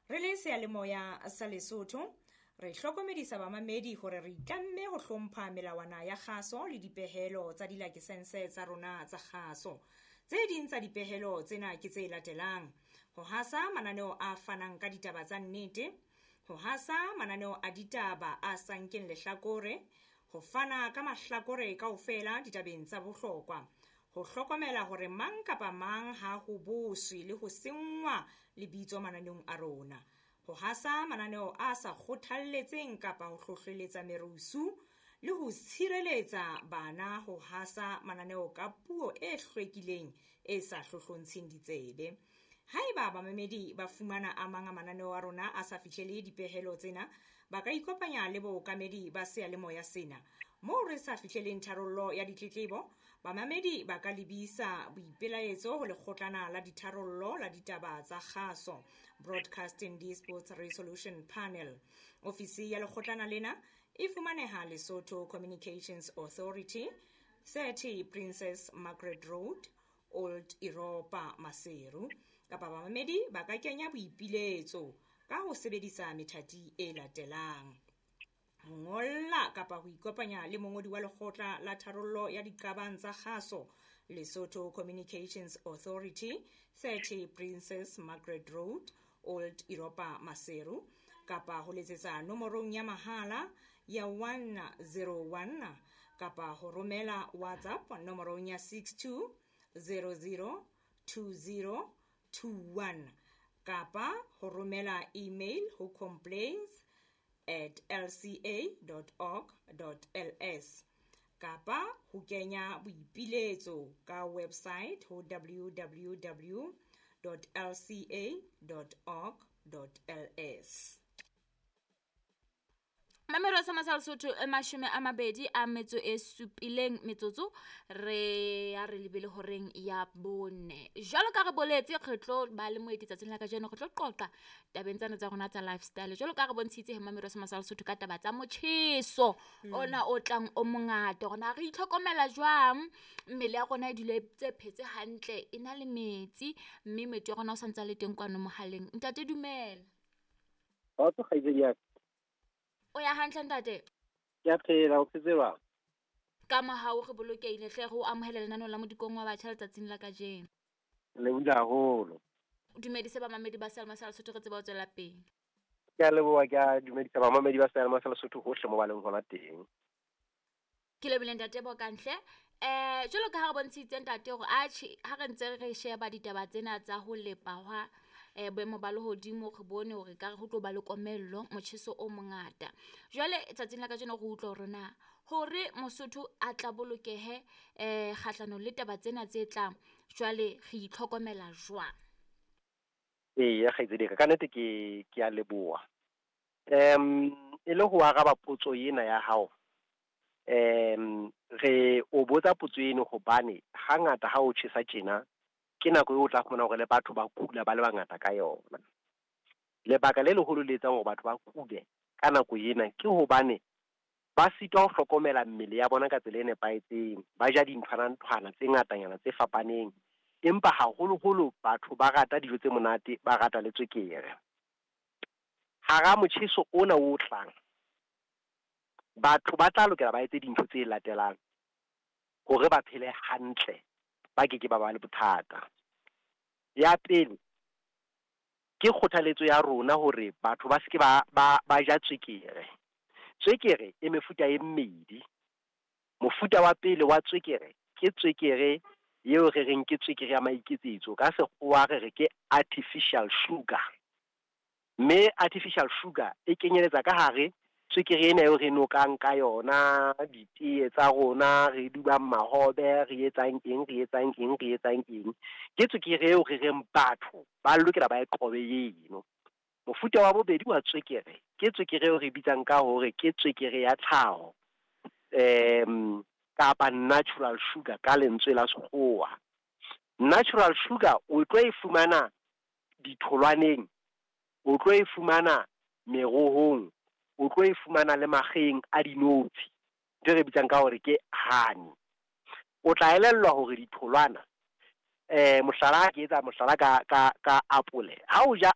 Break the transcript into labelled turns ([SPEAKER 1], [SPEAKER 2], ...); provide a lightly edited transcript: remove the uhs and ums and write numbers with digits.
[SPEAKER 1] Re le seyalemoya sa Lesotho, re hlokomedisa bamamedi hore re itlamme ho hlompha melawana ya kgaso le dipehelo tsa dilakesense tsa rona tsa kgaso. Tse ding tsa dipehelo tsena ke tse latelang: ho hasa mananeo a fanang ka ditaba tsa nnete, ho hasa mananeo a ditaba a sa nkeng lehlakore, ho fana ka mahlakore kaofela ditabeng tsa bohlokwa, ho hlokomela hore mang kapa mang ha ho boswe le ho senngwa lebitso mananeong a rona, ho hasa mananeo a sa kgothalletseng kapa ho hlohleletsa merusu le ho tshireletsa bana ho hasa mananeo ka puo e hlwekileng e sa hlohlontsheng ditsebe. Haeba bamamedi ba fumana a mang a mananeo a rona a sa fihlele dipehelo tsena, ba ka ikopanya le bookamedi ba seyalemoya sena. Moo re sa fihleleng tharollo ya ditletlebo, bamamedi ba ka lebisa boipelaetso ho lekgotlana la ditharollo la ditaba tsa kgaso, Broadcasting Disputes Resolution Panel. Ofisi ya lekgotlana lena e fumaneha Lesotho Communications Authority, 30 Princess Margaret Road, Old Europa, Maseru. Kapa bamamedi ba ka kenya boipiletso ka ho sebedisa methati e latelang: ho ngolla kapa ho ikopanya le mongodi wa lekgotla la tharollo ya diqabang tsa kgaso, Lesotho Communications Authority, 30 Princess Margaret Road, Old Europa, Maseru, kapa ho letsetsa nomorong ya mahala ya 101 kapa ho romela WhatsApp nomorong ya 62 00 20 21 kapa ho romela email ho complaints@lca.org.ls kapa ho kenya boipiletso ka website ho www.lca.org.ls.
[SPEAKER 2] Mamelo sa Masala Sotho 27 metsotso re ya re lebele horeng ya 4. Jwalo ka re boletse re tlo ba le moeti tsatsing la kajeno, re tlo qoqa tabeng tsena tsa rona tsa lifestyle. Jwalo ka re bontshitse he mamelo sa Masala Sotho ka taba tsa motjheso ona o tlang o mongata, hore na re itlhokomela jwang, mmele ya rona e dule tse phetse hantle, e na le metsi, mme moeti wa rona o santse a le teng kwano mohaleng. Ntate dumela.
[SPEAKER 3] Kgotso kgaitsedi ya ka.
[SPEAKER 2] O ya hantle ntate?
[SPEAKER 3] Ke a phela, o phetse jwang?
[SPEAKER 2] Ka mohau re bolokehile hle, re o amohele lenaneo la Modikong wa Batjha letsatsing la kajeno.
[SPEAKER 3] Le bula haholo.
[SPEAKER 2] O dumedise bamamedi ba Seyalemoya sa Lesotho re tsebe ho tswela pele.
[SPEAKER 3] Ke a leboha, ke a dumedisa bamamedi ba Seyalemoya sa Lesotho hohle mo ba leng hona teng.
[SPEAKER 2] Ke lebohile ntate Bokantle. Jwalo ka ha re bontshitse ntate hore atjhe ha re ntse re sheba ditaba tsena tsa ho lepa hwa boemo ba lehodimo, re bone hore ka re ho tlo ba le komello, motjheso o mongata. Jwale tsatsing la kajeno re utlwa hore na hore Mosotho a tla bolokehe kgahlanong le taba tsena tse tlang, jwale re itlhokomela jwang?
[SPEAKER 3] Eya kgaitsedi ka nnete ke a leboha. E le ho araba potso ena ya hao, re o botsa potso eno hobane hangata ha o tjhesa tjena ke nako eo o tla fumana hore le batho ba kula ba le bangata ka yona. Lebaka le leholo le etsang hore batho ba kule ka nako ena ke hobane ba sitwa ho hlokomela mmele ya bona ka tsela e nepahetseng, ba ja dinthwana-nthwana tse ngatanyana tse fapaneng, empa haholoholo batho ba rata dijo tse monate, ba rata le tswekere. Hara motjheso ona o tlang, batho ba tla lokela ba etse dintho tse latelang hore ba phele hantle, ba keke ba ba le bothata. Ya pele, ke kgothaletso ya rona hore batho ba seke ba ja tswekere. Tswekere e mefuta e mmedi. Mofuta wa pele wa tswekere ke tswekere eo re reng ke tswekere ya maiketsetso, ka sekgowa re re ke artificial sugar. Mme artificial sugar e kenyeletsa ka hare tswekere ena eo re nokang ka yona, ditee tsa rona, re dubang mahobe, re etsang eng, re etsang eng, re etsang eng. Ke tswekere eo re reng batho ba lokela ba e qobe eno. Mofuta wa bobedi wa tswekere ke tswekere eo re bitsang ka hore ke tswekere ya tlhaho, kapa natural sugar ka lentswe la sekgowa. Natural sugar o tlo e fumana ditholwaneng, o tlo e fumana merohong, o tlo e fumana le makgeng a dinotshi, ntho e re bitsang ka hore ke honey. O tla elellwa hore ditholwana, mohlala ke etsa mohlala ka apole. Ha o ja